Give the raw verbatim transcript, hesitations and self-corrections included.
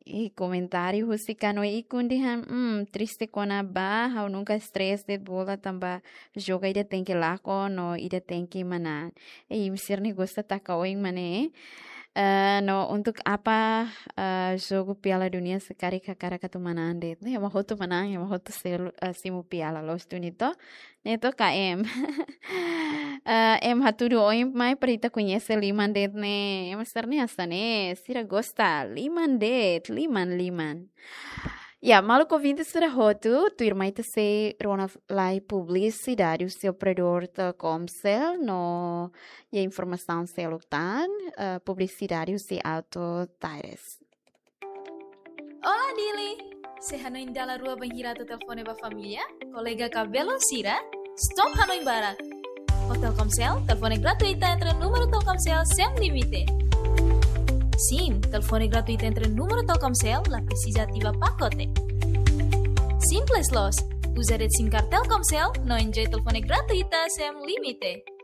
i komentáriu husi Kanoe Ikun dehan, hmm, triste kona-ba, ha'u nunka stress de'it bola tanba joga ida tenke lakon no ida tenke manán. I imi sira-ne'e gosta taka oin mak ne'e. Eh, no untuk apa, eh, jogu Piala Dunia se karik hakarak atu manán de'it? Ema hotu manán, ema hotu selu, eh, simu piala, loos duni to? Ne'e to K M. Eh, ema hatudu oin mai para ita koñese liman de'it ne'e. Ema sira-ne'e hanesan ne'e, sira gosta liman de'it, liman, liman. Ya, maluk ouvinte sira hotu, tuirmai ita sei rona lai publisidade husi operadór Telkomcel no iha informasaun seluk tan, eh, publisidade husi Auto Tires. Olá, Dili! Se hanoin dala rua bainhira atu telefone ba família, kolega ka belun sira, stop hanoin barak. Ho Telkomcel, telefone gratuita entre númeru Telkomcel sem limite. Sim, telefone gratuita entre númeru Telkomcel, la presiza ativa pakote. Simples loos, uza de'it SIM card Telkomcel, no enjoy telefone gratuita sem limite.